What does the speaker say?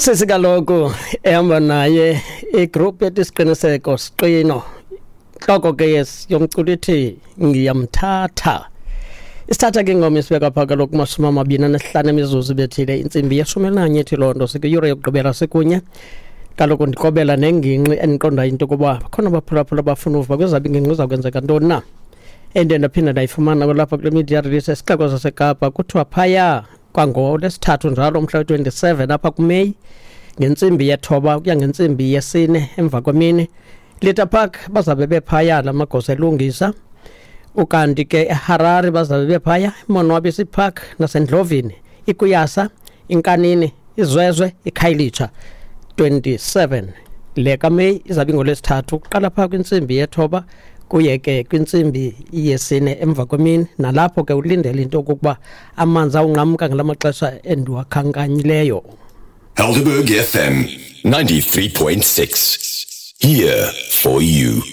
Sisi kaloku ehamba naye igroup ethi Isiqiniseko Siqino, ntloko ke yes yomculo ithi Ngiyamthatha. Isithatha ke ingoma isibeka phaa kaloku 25 emizuzu ibethile intsimbi ye-11. Ithi loo nto sikwiyure yokugqibela sikunye. Kaloku ndikobela nengingqi endiqondayo into yokuba bakhona abaphulaphula abafuna uva kwezabo ingingqi iza kwenzeka ntoni na. Endiye ndaphinda ndayifumana kwalapha kule media release esixeko saseKapa, kuthiwa phaya kwangolwesithathu njalo umhla we-27 apha kuMeyi ngentsimbi 9 ukuya ngentsimbi 4 emva kwemini, Lita Park bazabe bephaya la magosa elungisa. Ukanti ke eHarare bazabe bephaya, iMonwabisi Park naseNdlovini, iKuyasa, iNkanini, iZwezwe, iKhayelitsha. 27 le kaMeyi izabe ingolwesithathu kuqala phaa kwintsimbi 9 kuye ke kwintsimbi 4 emva kwemini, nalapho ke ulindele into yokokuba amanzi awunqamka ngala maxesha endiwakhankanyileyo. Helderberg FM 93.6. Here for you.